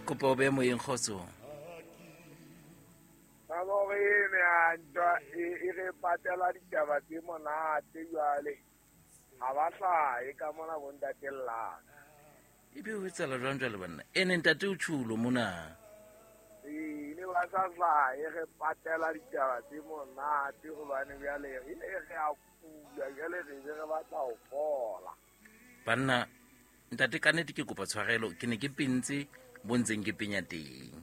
Kopa o be moyeng kgotsong. Taba hore ene a ntwa e re patela ditaba tse monate jwale. Ha ba hlahe ka mona bo ntate Llaka. Ebe o etsala jwang jwale banna? Ene ntate o tjhulo mona. Ee, ne ba sa hlahe re patela ditaba tse monate hobane jwale re re a kula jwale re be re batla ho fola. Banna ntate ka nnete ke kopa tshwarelo ke ne ke pentse bo ntseng ke penya teng.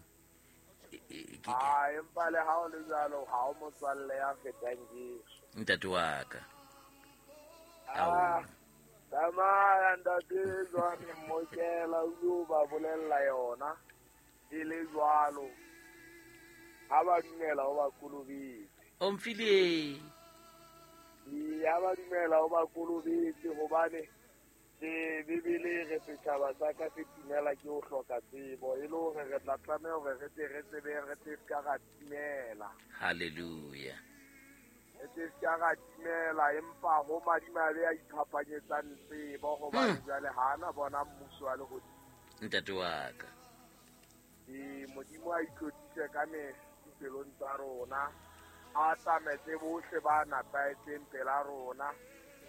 A empa le ha o le jwalo ha o motswalle ya fetang Jesu. Ntate wa ka. Ah, tsamaya ntate jwane mmokela o yo ba bolella yona e le jwalo. Ha ba dumela o ba kolobetse. Omphile. Ee, ha ba dumela o ba kolobetse hobane Ee, Bibele e re setjhaba sa ka se timela ke ho hloka tsebo, e le hore re tla tlameha hore re tle re tsebe re tle se ka ra timela. Halleluja. Re tle se ka ra timela, empa ho madimabe a iphapanyetsang tsebo, hobane jwale ha a na bona mmuso wa lehodimo. Ntate wa ka. Ee, Modimo a itlotlise ka mehla dipelong tsa rona, a tsametse bohle ba nepahetseng pela rona,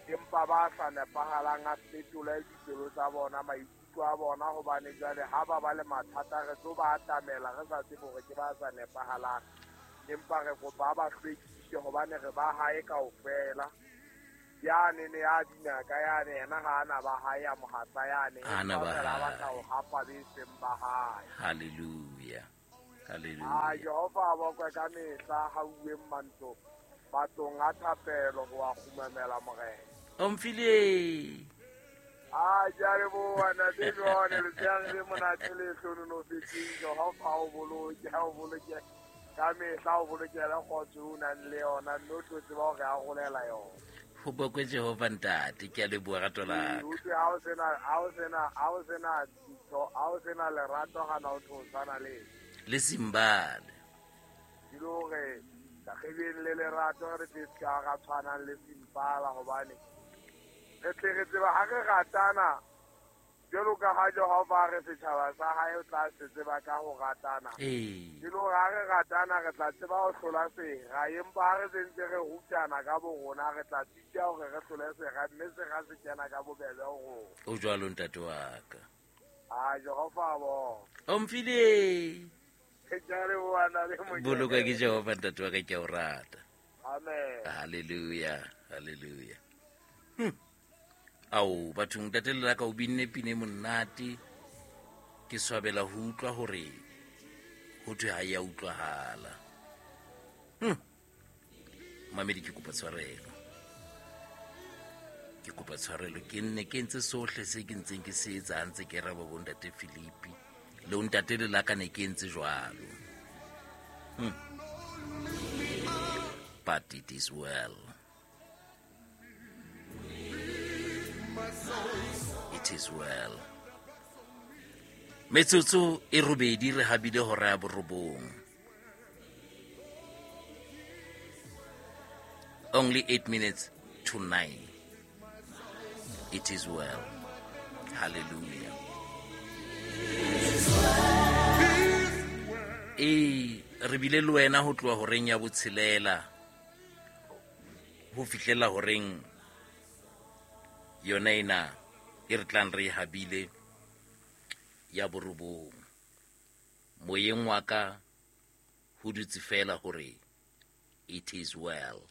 empa ba sa nepahalang a fetole dipelo tsa bona, maikutlo a bona, hobane jwale ha ba ba le mathata re tlo ba atamela re sa tsebe hore ke ba sa nepahalang, empa re kopa a ba hlwekise hobane re ba hae kaofela. Yane ne ya bina ka yane yena ha ana ba hae a mohatsa yane, Ha ana empa ba fela a hae. batla ho hapa be seng ba hae. Halleluja. A Halleluja. Jehova a bokwe ka mehla ha uweng mantlo matlong a thapelo ho a kgumamela Morena. Omphile. A ke a leboha ntate John, letshehare le monate le hlohonolofetseng. Jehova a o boloke, a o boloke ka mehla, o bolokele kgotso eo o nang le yona, mme o tlo tseba hore a rolela yona. Ho bokwe Jehova ntate, ke a leboha rato la ka. Utlwe ha o sena, ha o sena, ha o sena ntho, ha o sena lerato hana o tlo tshwana le eng. Le Simbale. Ke le hore re beng le lerato re tle se ka ra tshwanang le Simpala, hobane re tle re tseba ha re ratana jwalo ka ha Jehova a re setjhaba sa hae o tla se tseba ka ho ratana. Ee. Ke le hore ha re ratana re tla tseba ho hlola sera, empa ha re sentse re rutana ka bo rona re tla sitwa hore re hlole sera, mme sera se kena ka bobebe ho rona. O jwalo ntate wa ka. A Jehova a bona. Omphile. Ke a leboha ntate Mokete. Boloka ke Jehova ntate wa ka, ke a o rata. Amen. Hallelujah, hallelujah. Ao bathong ntate le la ka o binne pine monate. Ke swabela ho utlwa hore ho thwe ha ya utlwahala. Mamedi ke kopa tshwarelo. Ke kopa tshwarelo ke nne ke ntse sohle se ke ntseng ke se etsa ha ntse ke raba bo ntate Philippi le ntate le la ka ne ke ntse jwalo. But it is well. It is well. Metsotso e robedi re habile hora ya borobong. Only 8 minutes to 9. It is well. Hallelujah. Ee, re bile le wena ho tloha horeng ya botshelela ho fihlela horeng yona ena e re tlang re e habile ya borobong. Moyeng wa ka ho dutse fela hore it is well.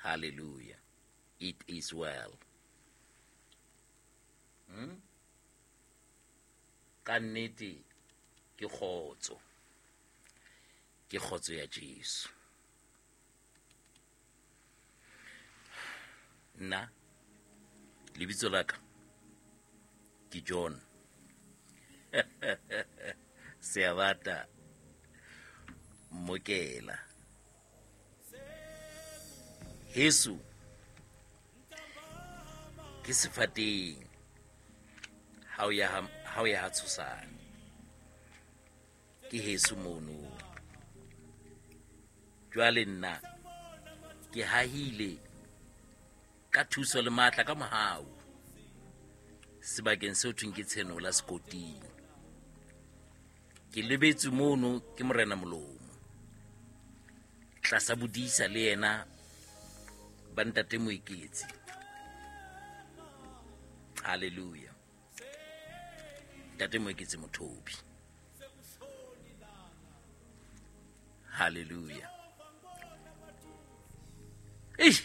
Hallelujah. It is well. Ka nnete ke kgotso. Ke kgotso ya Jesu. Nna lebitso la ka ke John. Seabata Mokela. Heso ke sefateng ha o ya ha o ya ha Tshosane. Ke heso mono. Jwale nna ke hahile ka thuso le matla ka mohau sebakeng seo thweng ke Tshenola Sekoting. Ke lebetse mono ke Morena Molomo. Tlasa bodisa le yena ba ntate Moeketsi. Hallelujah. Ntate Moeketsi Mothobi. Hallelujah. Eish.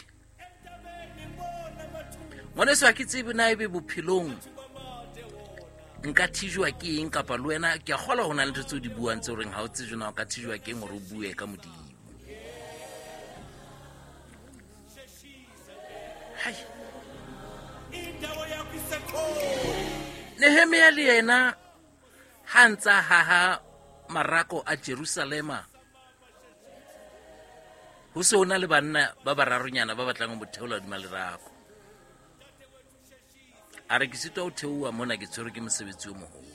Ngwaneso ha ke tsebe na ebe bophelong nka thijwa ke eng kapa le wena ke a kgolwa ho na le ntho tseo di buang tse horeng ha o tsejwe na o ka thijwa ke eng hore o bue ka Modimo. Hai. Nehemia le yena ha ntsa haha marako a Jerusalema, ho se ho na le banna ba bararonyana ba batlang ho mo theola hodima lerako. A re ke sitwa ho theoha mona, ke tshwerwe ke mosebetsi o moholo.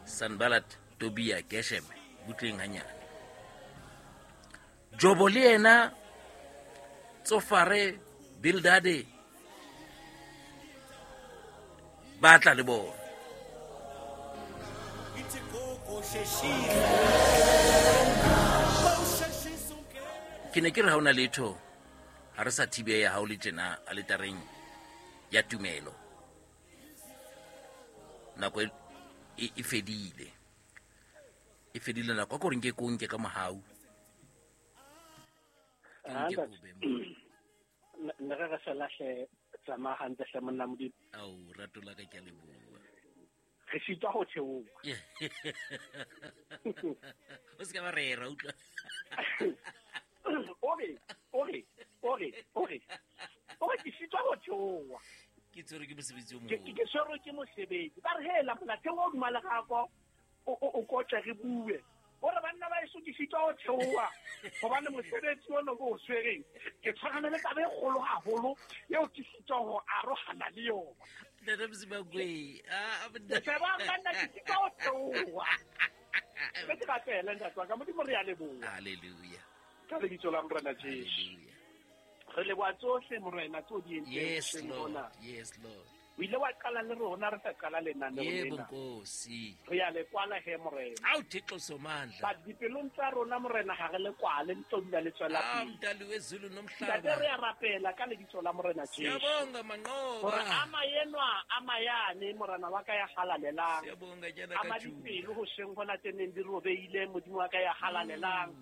Sanballat, Tobia, Gesheme, butleng hanyane. Jobo le yena, Tsofare, Bildade, ba tla le bona. Ke ne ke re ha ona letho, ha re sa thibeya ha o le tjena aletareng ya tumelo. Nako e fedile. E fedile nako. A ko re nke ko nke ka mohau. Ke nke ko be mo. Ne re re fela hle, tsamaya hantle hle monna Modimo. Ao, rato la ka ke a leboha. Re sitwa ho theoha. O se ka ba rera, utlwa. O re, o re, o re, o re. O re ke sitwa ho theoha. Ke tshwerwe ke mosebetsi o Ke moholo. ke tshwerwe ke mosebetsi. Ba re hela mona theoha hodima lerako, o kotle re bue. O re banna ba eso ke sitwa ho theoha hobane mosebetsi ono ke o tshwereng. Ke tshwarana le taba e kgolo haholo eo ke sitwa ho arohana le yona. Ntate Mosimakwe, ah, Ke tseba banna ke sitwa ho theoha. Ke ke rapele ntate wa ka, Modimo re a leboha. Hallelujah. Ka lebitso la Morena Jesu. Hallelujah. Re leboha tsohle Morena tseo di entseng Yes, hoseng Lord. hona. Yes, Lord. O ile wa qala le rona re sa qala lenaneo Yebo, lena. Nkosi. Re a le kwala he Morena. Ao Thixo Somandla. But dipelong tsa rona Morena ha re le kwale, le tlo dula le tswela Ah, pele. Mdali wezulu nomhlaba. Ntate re a rapela ka lebitso la Morena Jesu. Siyabonga Hore Manqoba. ama enwa, ama yane Morena wa ka ya halalelang. Siyabonga jana Ama ka Juda. dipelo hoseng hona tse neng di robeile Modimo wa ka ya halalelang.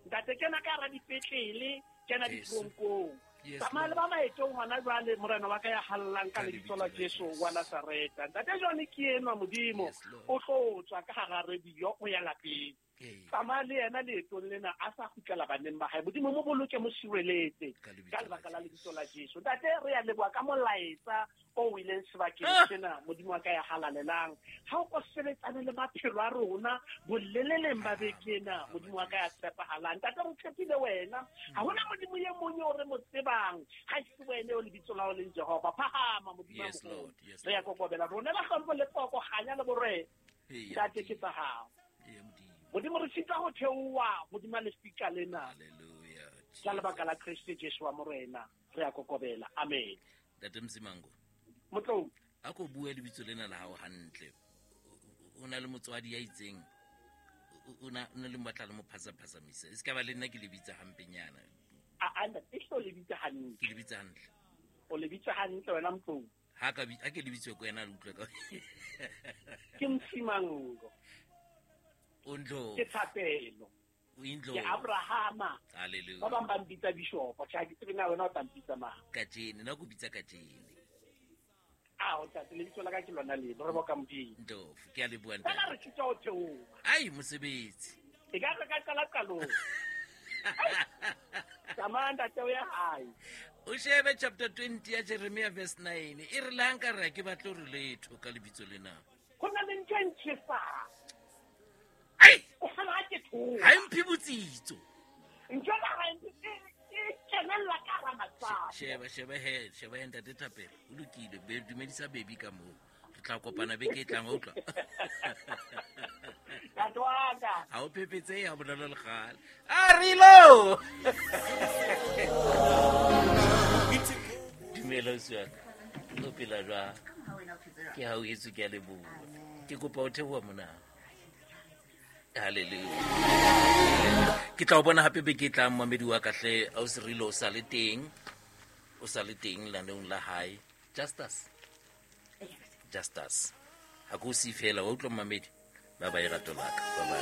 Ntate kena ka hara dipetlele, kena Jesu. ditoronkong. Yes, Tsamaya le Lord. ba maetong hona jwale Morena wa ka ya hallang ka Ka lebitso la lebitso la Jesu Jesu. wa Nazareta. Ntate jwale ke enwa Modimo, Yes, Lord. o tlo tswa ka hara radio o ya lapeng. Ee. Tsamaya le yena leetong lena a sa kgutlela baneng ba hae. Modimo mo boloke, mo sireletse Ka lebitso ka la lebaka la Jesu. lebitso la Jesu. Ntate re a leboha ka molaetsa o ileng sebakeng Ah! sena Modimo wa ka ya halalelang. Ha o ko sebetsane le maphelo a rona boleleleng ba beke ena Modimo wa ka ya tshepahalang. Ntate re tshepile wena. Ha hona Modimo e mong eo re mo tsebang ha e se wena eo lebitso la hao leng Jehova. Phahama Modimo a Yes, moholo. Lord. Yes, Re ya Lord. kokobela rona la hlompho le poko kganya le borena. Ee, Ntate ke Modimo. tsa hao. Ee, Modimo. Modimo re sitwa ho theoha hodima lefika lena. Hallelujah. Ka lebaka la Kreste Jesu wa Morena re a kokobela. Amen. Ntate Msimango. Motlou. A ko bue lebitso lena la hao hantle. O na le motswadi ya itseng. O na le mmatla le mo phasaphasamisa. E se ka ba le nna ke le bitsa hampenyana. A ntate, e hlo le bitsa hantle. Ke le bitsa hantle. O le bitsa hantle wena Motlou. Ha ka ha ke le bitswe ko wena le utlwe ka. Ke Msimango. O Ndlovu. Ke Thapelo. O Indlovu. Ke Abrahama. Hallelujah. Ba bang ba mpitsa bishop. Tjhe, ha ke tsebe na wena o tla mpitsa mang. Kajeno, nna ke o bitsa kajeno. Ao, ntate, lebitso la ka ke lona leno, re boka Modimo. Ndlovu, ke a leboha ntate. Fela re sitwa ho theoha. Ai, mosebetsi. E ka re ka qala qalong. Tsamaya ntate o ya hae. O shebe chapter 20 ya Jeremia verse 9. E re le ha nka re ha ke batle hore letho ka lebitso lena. Ho na le ntho e ntjhesang. Ai! O kgala ha ke thola. Ha e mphe botsitso. Ntho ena ha e mphe, e kenella ka hara masapo. Sheba, sheba he, sheba he ntate Thapelo. O lokile, be dumedisa baby ka moo. Re tla kopana beke e tlang, wa utlwa? Ntate wa ka. Ha o phephetsehe ha bonolo le kgale. A re lo! Dumela ausi wa ka. O phela jwang? Ke ha o etswe, ke a leboha. Ke kopa o theoha mona. Halleluja. Ke tla o bona hape beke e tlang, mamedi wa ka hle. A o serile, o sa le teng, o sa le teng lenaneong la hae. Justus, Justus, ha ko o siye fela wa utlwa, mamedi. Ba ba e rato laka. Bye bye.